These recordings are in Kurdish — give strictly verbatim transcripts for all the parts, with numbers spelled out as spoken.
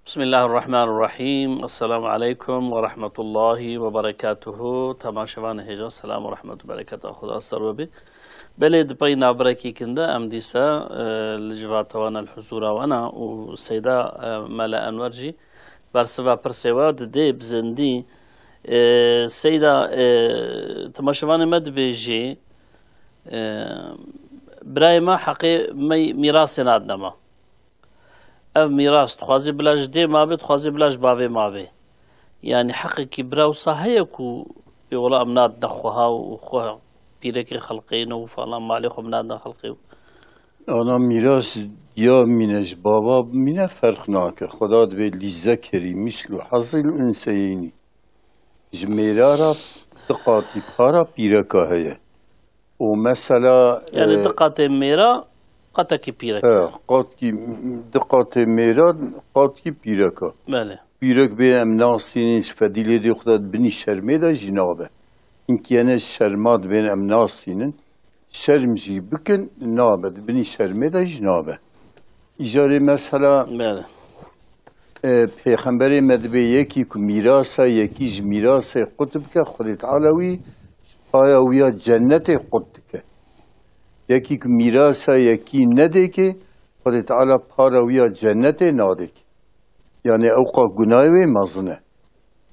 Bismillahirrahmanirrahim. Esselamu aleykum ve rahmetullahi ve berekatuhu. Temaşevanê hêja, selam û rehmet û bereketa Xuda ser we bê. Belê, di pey navberekî kin de em dîsa, e, li civata we ne, li huzûra we ne û Seyda, e, Mele Enwer jî bersiva pirsê we didê bi zindî. E, Seyda, e, temaşevanê me dibêjî, e, birayê me heqê me mîrasê nadine me. Ev mîras dixwazî bila ji dê mabê, dixwazî bila ji bavê mabê. Yanî heqekî bira wisa heye ku pê wela em nadine xweha û xwe pîrekê xelqê ne û falan malê xwe em nadine xelqê. Ana mîras ya mîne ji bava mîne ferq nake. Xweda dibê lîzekerî mîslu hazil unseyeynî. Ji mêra re di qatî para pîreka heye. Û mesela, Yani e, di qatê mêra, qatekî pîrek. He, qatkî, di qatê mêra, qatkî pîreka. Belê. Pîrek bê em nastînin, ji fedîlê dê xwe de binî şermê de jî nabe. Hinkiyene şerma dibên em nastînin. Şerm jî bikin, nabe. Di binî şermê de jî nabe. Îcarê mesela, Belê. E, Pêxemberê me dibê yekî ku mîrasa yekî ji mîrasê qut bike, Xwedê Teala wî paya wî ya cennetê qut dike. Yekî ku mîrasa yekî nedêkê, Xwedê Teala para wî ya cennetê nadêkê. Yani ewqa gunayê wê mezin e.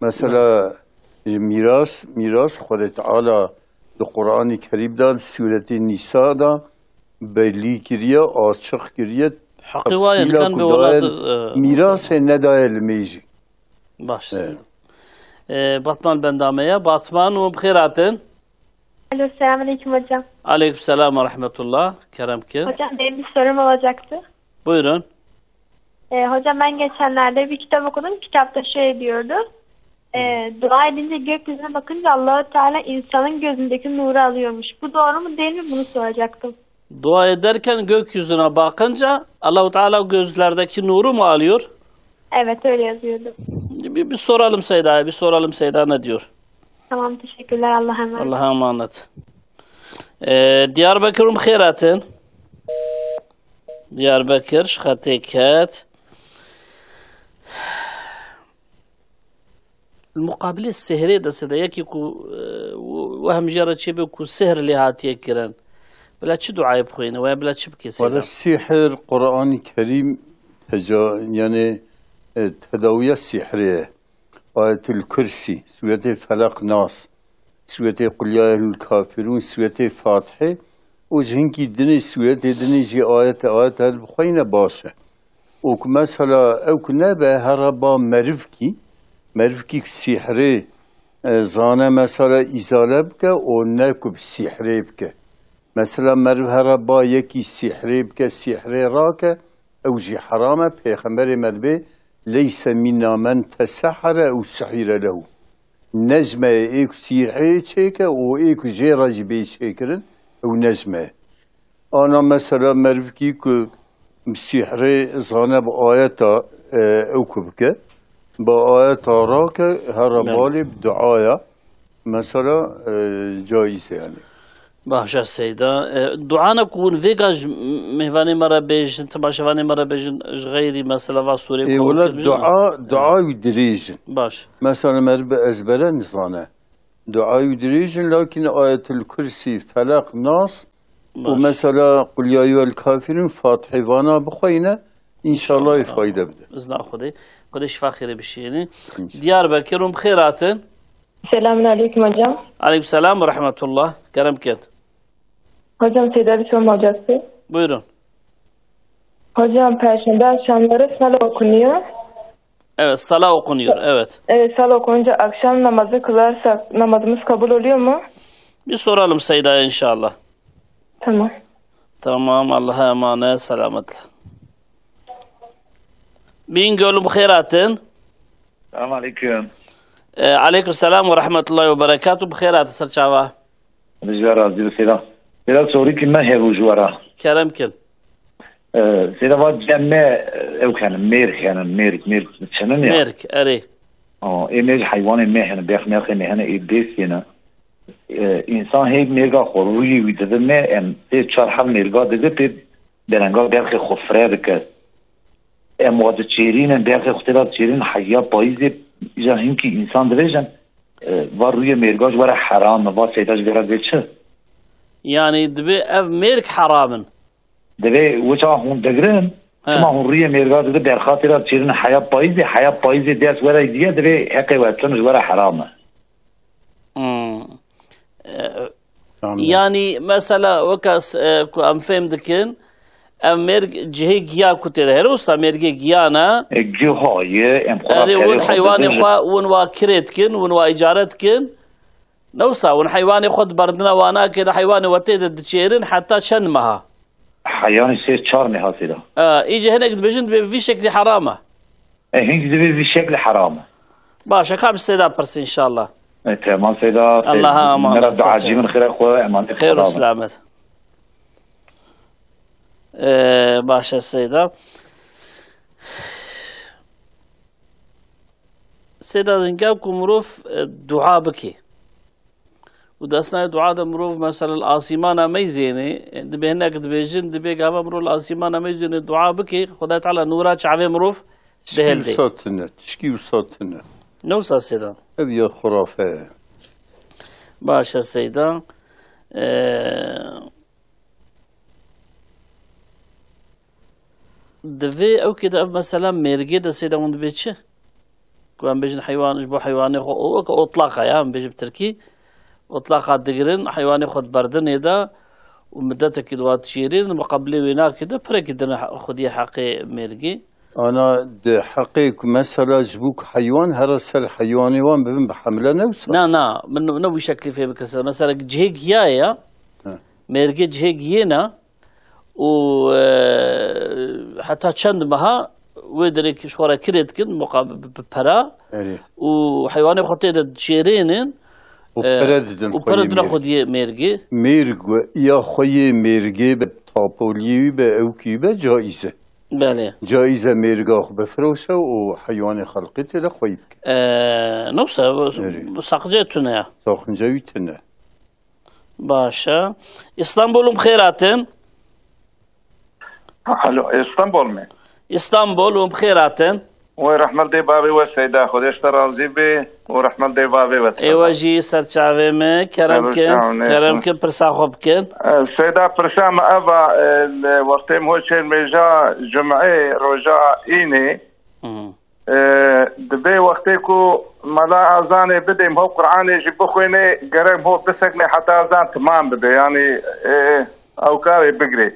Mesela, e, mîras, mîras Xwedê Teala di Qur'anê Kerîm de, di Sûretê Nîsa de belî kiriye, açiq kiriye, Heqî wa ye, tefsîla nikan ku bi daye, welat, e, mîrasê nedaye li mêjî. Baş. Evet. E, Batman benda me ye. Batman, we bi xêr hatin. Alo, selamünaleyküm hocam. Aleyküm selam ve rahmetullah. Kerem kin. Hocam, benim bir sorum olacaktı. Buyurun. E, hocam, ben geçenlerde bir kitap okudum. Kitapta şey diyordu. E, dua edince gökyüzüne bakınca Allahu Teala insanın gözündeki nuru alıyormuş. Bu doğru mu değil mi? Bunu soracaktım. Dua ederken gökyüzüne bakınca Allahu Teala gözlerdeki nuru mu alıyor? Evet, öyle yazıyordu. Bir, bir soralım Seyda'ya, bir soralım Seyda ne diyor? Tamam, teşekkürler. Allah'a emanet. Allah'a emanet. Ee, Diyarbakır, we bi xêr hatin. Diyarbakır, ji xetê ket. Li muqabilê sihrê de Seyda, yekî ku, e, we-, wehm jê re çêbe ku sihr lê hatiye kirin. Bila çi duayê bixwîne? Wê bila çi bike Seyda? Wele sihir, Qur'anî Kerîm teca-, yani, e, tedawiya sihrê ye. Ayetul Kursî, Sûretê Felaq, Nas, Sûretê Qul Ya Eyyuhel Kafirûn, Sûretê Fatihê û ji hinkî dinê sûretê dinê jî ayete ayete her bixweyne baş e. Û ku mesela ew ku nebe here ba merivkî, merivkî ku sîhrê, e, zane mesela îzale bike û ne ku bi sîhrê bike. Mesela meriv here ba yekî sîhrê bike, sîhrê rake, ew jî heram e. Pêxemberê me dibê, "Leyse minna men tesehhere ew suhire lehu." Ne ji me ye ê ku sîhrê çêke û ê ku jê re jî bê çêkirin, ew ne ji me ye. Ana mesela merivkî ku bi sîhrê zane bi ayeta, e, ew ku bike, bi ayeta rake, here Evet. balê bi duaya, mesela, e, caiz e yani. Baş e Seyda. E, duana ku hûn vêga ji mêvanê me re bêjin, temaşevanê me re bêjin, ji xeyrî mesela va sûrê Ê, ku wele hûn dua, dua wî dirêj in. Baş. Mesela meriv bi ezbere nizane. Duayê wî dirêj in, lakin Ayetul Kursî, Felaq, Nas û Baş. mesela Qul Ya Eyyuhel Kafirûn, Fatihê vana bixweyne, înşallah ê fayde bide. Izna Xwedê. Xwedê şifa xêrê bişîne. Înşallah. Diyarbekir, we bi xêr hatin. Selamun aleyküm hocam. Aleyküm selam ve rahmetullah. Kerem kin. Hocam, Seyda bir sorum olacaktı. Buyurun. Hocam, Perşembe akşamları sala okunuyor. Evet, sala okunuyor, evet. Evet, sala okununca akşam namazı kılarsak namazımız kabul oluyor mu? Bir soralım Seyda'ya inşallah. Tamam. Tamam, Allah'a emanet, selametle. Bingöl, we bi xêr hatin. Selam aleyküm. E, aleyküm selam ve rahmetullahi ve berekatuhu. Bi xêr hatin ser çava. Rica razî bi Seyda. Seyda, sorîkî me hebû ji we re. Kerem kin. Ee, Seyda, va cem me, e, ew hene, mêrk hene, mêrk, mêrk çinin ya. Mêrk, erê. Aa, ê mêrk heywanê me hene, bêx mêrxê me hene, ê dêsê ne. Ee, însan hê mêrga xwe rûyê wî dide me, em pê çar heb mêrga dide pê derenga berxê xwe fire dike. Em wa diçêrînin, berxê xwe tê de diçêrînin, heya payîzê, îja hinkî însan dibêjin, e, va rûyê mêrga ji we re heram e, va seyda ji we re dê çi? Yanî divê ev mêrg heram in. Divê wisa hûn digirin, He. Çima hûn rûyê mêrga didin, berxa tê de diçêrînin, heya payîzê, heya payîzê ders we re diye, divê heqê we çin ji we re heram e. Hmm. E, Tamam. Yanî mesela weka s-, e, ku em fêm dikin, ev mêrg cihê giya ku tê de. Her wisa mêrgê giya ne? E, giha ye, em xwe Erê, win perê xwe heywanê dibêjin. Xwe, win wa kirê dikin, win wa îcare dikin. Ne wisa, win heywanê xwe di berdina wana kê de heywanê we tê de diçêrin heta çend meha? Heyanî sê çar meha seyda. E, îce hinek dibêjin divê vî şeklî heram e. E, hîn divê vî şeklî heram e. Baş e, ka bi seyda pirsî înşallah. E, temam seyda. Allah'a emanet, Mera dua sağ ol. Cî min xêra xwe, emanet Xêr û Xweda bin. Selamet. E, baş e seyda. Seyda, dinga ku mirov, e, dua bike. Û di esnayê dua de mirov, mesela, li asîmana meyzênê, e, dibê hinek dibêjin, dibê gava mirov li asîmana meyzênê dua bike, Xwedayê Teala nûra çavê mirov Tişkî dihildê. Wisa tune, tişkî wisa tune. Ne wisa seyda? Ev ya xurafe ye. Baş e seyda. E, Divê ew kê de ev mesela mêrgê de seyda hûn dibê çi? Ku em bêjin heywan, ji bo heywanê xwe, o weke otlaqa ya, em bêjin bi tirkî, otlaqa digirin, heywanê xwe di berdinê de û midetekî di wa dişêrîn, di miqabilê wê nakê de pirekî dine he-, xwediyê heqê mêrgê. Ana di heqê ku mesela ji bo ku heywan here ser heywanê wan bibin bi hemle ne wisa? Na, na, min ne wî şeklî fêm bike. Mesela cihê giyayê ya, He. Mêrgê cihê giyê ne, û, e, heta çend meha wê derê ji xwe re kirê dikin, muqa-, bi, bi pera Erê. Û heywanê xwe tê de diçêrênin, Û e, pere didin û xweyê pere didine mêrgê. Xwediyê mêrgê. Mêrg we, ya xweyê mêrgê be, tapoliyê wî be, ewkî wî be, caiz e. Belê. Caiz e mêrga xwe bifiroşe û heywanê xelqê tê de xweyî bike. E, ne wisa, Erê. Saqicê tune ya. Saqince wî tune. Baş e. Îstanbul, hûn bi xêr hatin. Alo, Îstanbul me? Îstanbul, hûn bi xêr hatin. Wê rehmet dê bavê we seyda, Xwedê ji te razî bê û rehmet dê bavê we. Ê we jî ser çavê me, kerem kin, kerem kin, pirsa xwe bikin. E, seyda, pirsa me ev a, e, li wextê min hot çêr mêja cumê roja înê, Hı. E, dibê wextê ku mela azanê bidê, ho Qur'anê jî bixwêne, gerek ho bisekne heta azan timam bibe. Yanî, e, ew karê bigirê.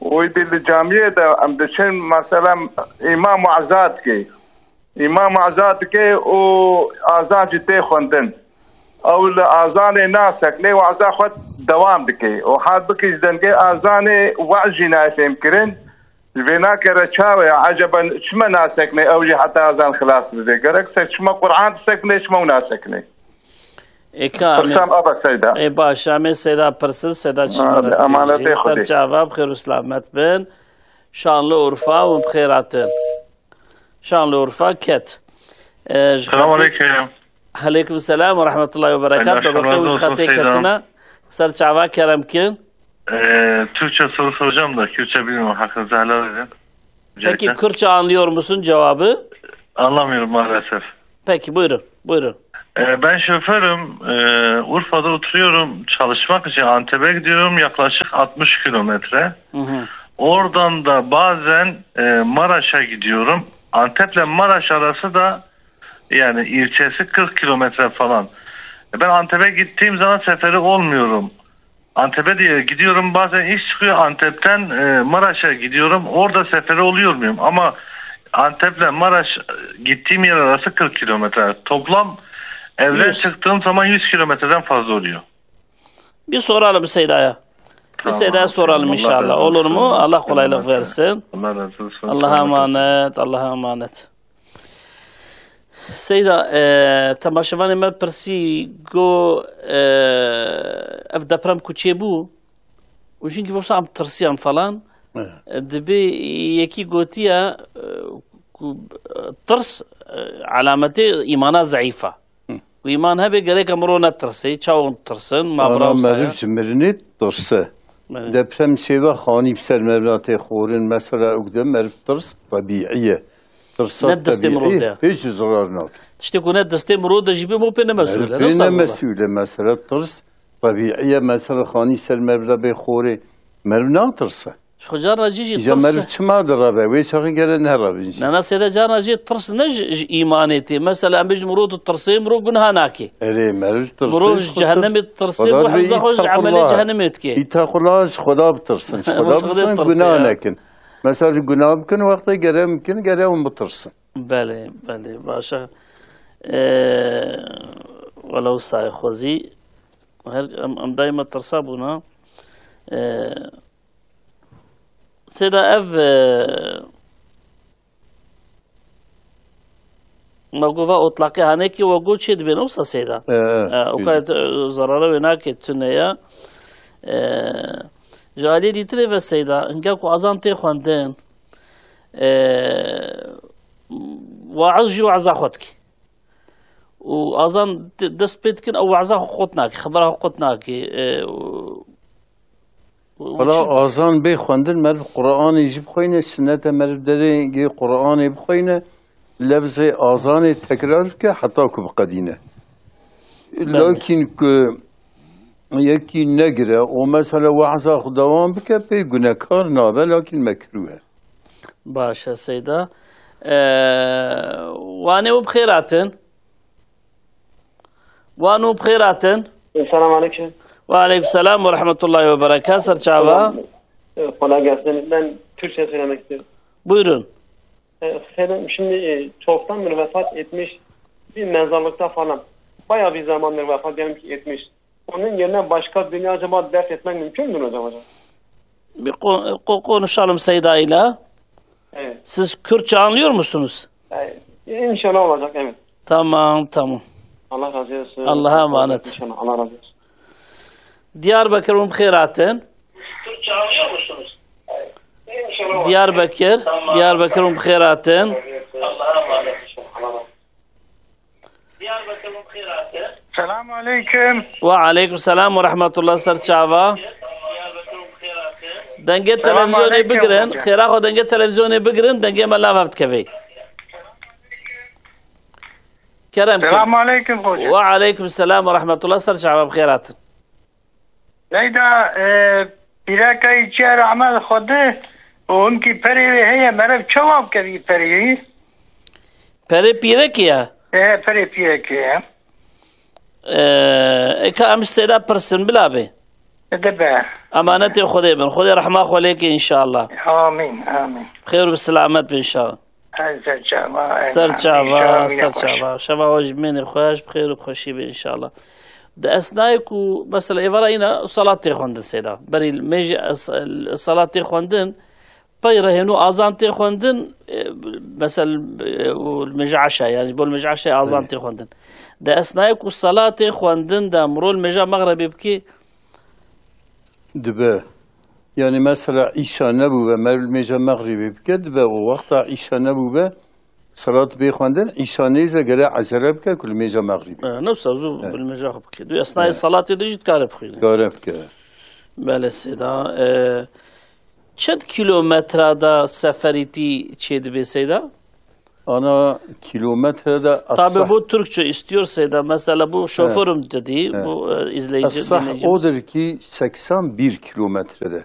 Û îdî li camiyê de em diçin, mesela îmam weza dike. Îmam weza dike û azan jî tê xwendin. Ew li azanê nasekne, weza xwe dewam dike. Û halbikî ji dengê azanê wez jî nayê fêmkirin. Ji vê nakere çawa ye? Eceben çima nasekne ew jî heta ezan xilas bibe? Gerek ser çima Qur'an disekne, çima ew nasekne? Ê ka em ê Pirsam ava seyda. Ê baş, em ê seyda pirsin, seyda çima Hadi, re emanetê dibêjin? Ser Xwedê. Çava, bi xêr û selamet bin. Şanlıurfa û bi xêr hatin. Şanlıurfa ket. Ee, ji Selamun xetê aleyküm. Aleykum selam ve rahmetullahi ve berekat. Baba Qewiş xetê ketina. Ser çava kerem kin. Ee, Türkçe soru soracağım da Kürtçe bilmiyorum. Hakkınızı helal edin. Peki Kürtçe anlıyor musun cevabı? Anlamıyorum maalesef. Peki buyurun. Buyurun. Ee, ben şoförüm. Ee, Urfa'da oturuyorum. Çalışmak için Antep'e gidiyorum. Yaklaşık altmış kilometre. Hı hı. Oradan da bazen e, Maraş'a gidiyorum. Antep'le Maraş arası da yani ilçesi kırk kilometre falan. E, Ben Antep'e gittiğim zaman seferi olmuyorum. Antep'e diye gidiyorum, bazen iş çıkıyor. Antep'ten e, Maraş'a gidiyorum. Orada seferi oluyor muyum? Ama Antep'le Maraş e, gittiğim yer arası kırk kilometre. Toplam evden Yüz. Çıktığım zaman yüz kilometreden fazla oluyor. Bir soralım Seyda'ya. Bir Tamam, Seyda'ya soralım Allah inşallah. Razı Olur mu? Olsun. Allah kolaylık Tamam, versin. Allah razı olsun. Allah'a Tamam. Emanet, Allah'a emanet. Seyda, e, temaşevanê me pirsî, got, e, ev deprem ku çêbû, û jînkî wisa em tirsiyan falan, Evet. E, dibê yekî gotiye, e, ku, e, tirs, e, alametê îmana zeîf e. Hı. Ku îman hebe gerek em ro netirse, çawa tirsin, ma Ana bira wisa meriv ye? Ji mirinê tirse. Belê. Deprem çêbe xanî bi ser meriv tê xorin. Mesela, ew de meriv tirs tebîî ye. Tirsa Ne destê tebîî mirov de. Pêç zirar nake. Tiştê ku ne destê mirov de jî be, bo pê ne mesûl e. Meriv pê ne mesûl e. Mesela, tirs tebîî ye. Mesela, xanî ser meriv de bê xorê. Meriv natirse. Ji xwe carna cî jî Îja tirs meriv çima direve? Wê çaxê gere nerevin jî. Nana sêde carna jî tirs ne ji, ji îmanê tê. Mesela, em bêjin mirov ditirsê, mirov guneha nake. Erê, meriv tirsê Mirov ji ji xwe cehennemê tir-, ditirsê, Xweda bo dibê hifza xwe ji îtaqullah. Emelê cehennemê dike. Îtaqullah, ji Xweda bitirsin. Ji Xweda Xweda bitirsin, bitirsin, gunah ya. nekin. Mesela, gunah bikin, wextê gere bikin, gere hûn bitirsin. Belê, belê, baş e. Ee, wela wisa ye xwezî. Her, em, em daîma tirsa bûna. Ee, Sêda ev, e, me got va otlaqê hanekî we got çê dibên, wisa sêda. E, e, E, o bî. Kadar, e, zarara wê nake, tune ya. E, ji aliyê dîtirê ve seyda, hinga ku azan tê xwendin, e, waiz jî waiza xwe dike. Û azan te-, dest pê dikin, ew weza xwe qut nake, xebera xwe qut nake. E, û, û Wela çi? Azan bê xwendin, meriv Qur'anê jî bixwîne, sinnet e meriv derê gê Qur'anê bixwîne, lefzê azanê tekrar bike heta ku biqedîne. Belê. Lakin ku yekî negire û mesela weza xwe dewam bike, pê gunekar nabe, lakin mekrûh e. Baş e, Seyda. Ee, Wanê û bi xêr hatin. Wan û bi xêr hatin. Selamun aleyküm. Ve aleyküm selam ve rahmetullahi ve berekat. Ser çava. Kolay, e, kolay gelsin. Ben Türkçe söylemek istiyorum. Buyurun. E, efendim, şimdi, e, çoktandır vefat etmiş bir mezarlıkta falan. Bayağı bir zamandır vefat gelmiş etmiş. Onun yerine başka birini acaba def etmek mümkün müdür hocam, hocam? Bir ko-, ko-, konuşalım Seyda ile. Evet. Siz Kürtçe anlıyor musunuz? Evet. İnşallah olacak, evet. Tamam, tamam. Allah razı olsun. Allah'a emanet. İnşallah. Allah razı olsun. Diyarbakır, hûn bi xêr hatin. Türkçe anlıyor musunuz? Diyarbakır, Diyarbakır, hûn bi xêr hatin. Allah'a emanet. Selamun aleyküm. Ve aleyküm selam ve rahmetullah, ser çava. Dengê Selamun televizyonê aleyküm bigirin, hocam. Xêra xwe dengê televizyonê bigirin, dengê me lav hev dikevê. Kerem kir. Selamun aleyküm hocam. Ve aleyküm selam ve rahmetullah, ser çava, bi xêr hatin. Leyda, e, pîreka yî çiya rahmet Xwedê û hinkî perê wê heye, meriv çawa bike vî perê wî? Perê pîrekê ye? E, perê pîrekê ye. E, eka em ji Seyda pirsin, bila bê. E, dibe. Emanetê Xwedê bin. Xwedê rehma xwe lê ke înşallah. Amîn, amîn. Xêr û bi selamet bin înşallah. Ez ser çava, Ser çava, ser çava. Şeva we ji mênê xweş, bi xêr û bi xweşî be înşallah. Di esnayê ku, mesela, êvara îna salat tê xwendin Seyda. Berî mêjê es-, salat tê xwendin, pey re hênû azan tê xwendin, e, mesela, e, û li mêja eşa, yani ji bo li mêja eşa azan Belê. tê xwendin. Di esnayê ku salat tê xwendin de, mirov li mêja mexrebê bikê, Dibe. Yani mesela îşa nebûbe, meriv li mêja mexrîbê bike, dibe û wexta îşa nebûbe, salat bê xwendin, îşa nêze gere ecele bike ku li mêja mexrîbê. E, ne wisa zû Evet. li mêja xwe bike. Di esnayê Evet. salatê de jî dikare bixwîne. Dikare bike. Belê Seyda. E, çend kilometre de seferîtî çê dibe Seyda? Ana kilometre de Tabi es-sah. bu Türkçe istiyor Seyda. Mesela bu şoförüm dedi. Evet. Bu, e, izleyici, Es-sah dinleyici. odur ki seksen bir kilometrede.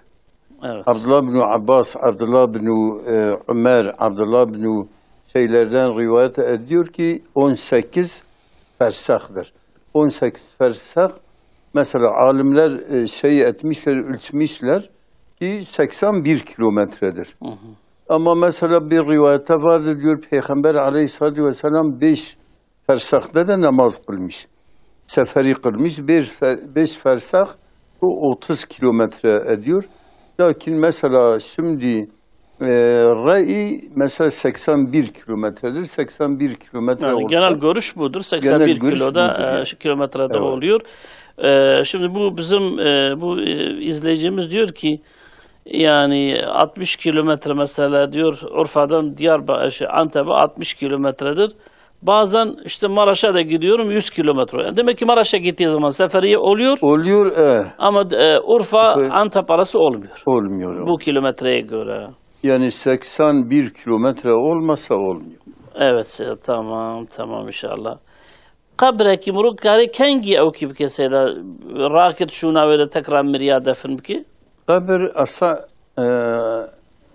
Evet. Abdullah bin Abbas, Abdullah bin, e, Ömer, Abdullah bin şeylerden rivayet ediyor ki on sekiz fersahdır. On sekiz fersah, mesela alimler, e, şey etmişler, ölçmüşler ki seksen bir kilometredir. Hı hı. Ama mesela bir rivayette vardır, diyor, Peygamber aleyhissalatu vesselam beş fersahta da namaz kılmış. Seferi kılmış, bir fe-, beş fersah, bu otuz kilometre ediyor. Lakin mesela şimdi, e, re'i mesela seksen bir kilometredir. Seksen bir kilometre Yani olsa genel görüş budur. Genel görüş budur, ya. e, şu kilometrede Evet. oluyor. E, şimdi bu bizim, e, bu, e, izleyicimiz diyor ki, yani altmış kilometre mesela diyor, Urfa'dan Diyarbakır, şey, Antep'e altmış kilometredir. Bazen işte Maraş'a da gidiyorum, yüz kilometre. Yani demek ki Maraş'a gittiği zaman seferiye oluyor. Oluyor, e. Ama, e, Urfa, Urfa Antep arası olmuyor. Olmuyor. Bu kilometreye göre. Yani seksen bir kilometre olmasa olmuyor. Evet, se- tamam, tamam inşallah. Qebrekî mirov kare kengî ew kî bike seyda, rakit şûna wê de tekrar miriya defin bike? Qebir esa, e,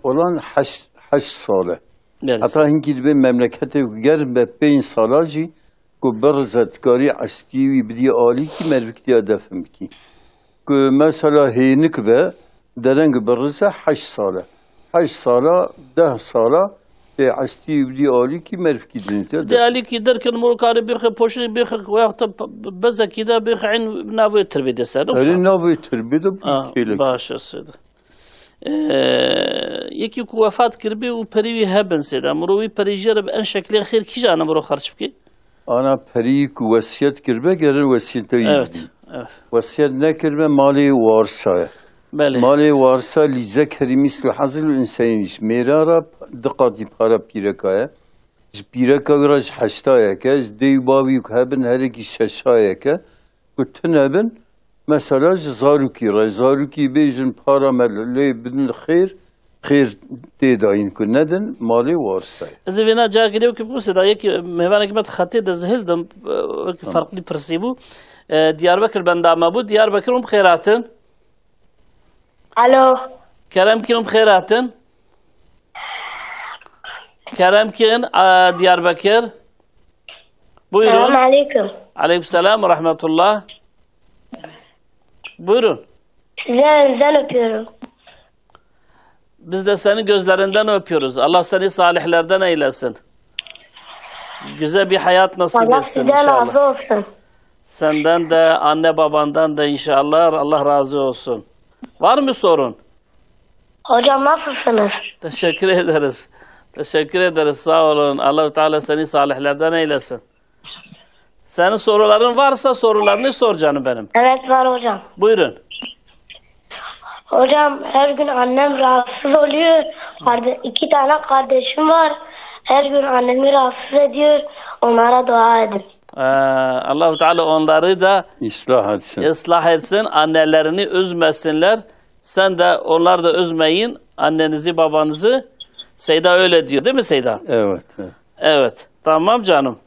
olan heşt, heşt sale. Belê. Heta hinkî dibê memleketê ku germ be pênc sala jî ku birize dikarî estî wî bidî alîkî merviktiya defin bikî. Ku mesela hênik be, dereng birize heşt sale. Heşt sala, deh sala tê estî wî bidî alîkî mervikî dinê te Dê defin. Alîkî derkin mirov kare bêxe poştê bêxe wexta bezekî de bêxe in navê tirbê de ser. Erê navê tirbê de bu Ha, kêlek. Baş e seyda. Ee, yekî ku wefat kiribî û perî wî hebin seyda. Mirov wî perî jê re bi en şeklê xêr kîjan e mirov xerç bike? Ana perî ku wesiyet kiribe gerin wesiyeta wî Evet, bidî. Evet. Wesiyet nekiribe malê warisa ye. Belê. Malê warisa lîze kerî mîslu hazil û însenî nîş. Mêra re di qatî para pîreka ye. Ji pîreka wî re ji heştayeke, ji dê û bavî ku hebin herekî şeşayeke. Ku tune bin, mesela ji zarokî re, zarokî bêjin para me lê bidin xêr, xêr tê dayîn ku nedin, malê warisa ye. Ez ê vêna carkê lê wekî bibû, seyda yekî mêvanekî me di xetê de zihil dim, e, wekî Tamam. Farklı pirsî bû. E, Diyarbekir benda me bû. Diyarbekir hûn bi xêr hatin. Alo. Kerem kirin bi xêr hatin. Kerem kirin, e, Diyarbekir. Buyurun. Selamun aleyküm. Aleyküm selam ve rahmetullah. Buyurun. Sizi elinizden öpüyorum. Biz de seni gözlerinden öpüyoruz. Allah seni salihlerden eylesin. Güzel bir hayat nasip Allah etsin sizden inşallah. Razı olsun. Senden de, anne babandan da inşallah Allah razı olsun. Var mı sorun? Hocam nasılsınız? Teşekkür ederiz. Teşekkür ederiz. Sağ olun. Allahu Teala seni salihlerden eylesin. Senin soruların varsa sorularını sor canım benim. Evet var hocam. Buyurun. Hocam her gün annem rahatsız oluyor. Karde- iki tane kardeşim var. Her gün annemi rahatsız ediyor. Onlara dua edin. Ee, Allahu Teala onları da Islah etsin. Islah etsin, annelerini üzmesinler. Sen de onlar da üzmeyin annenizi, babanızı. Seyda öyle diyor, değil mi Seyda? Evet, evet. Evet. Tamam canım.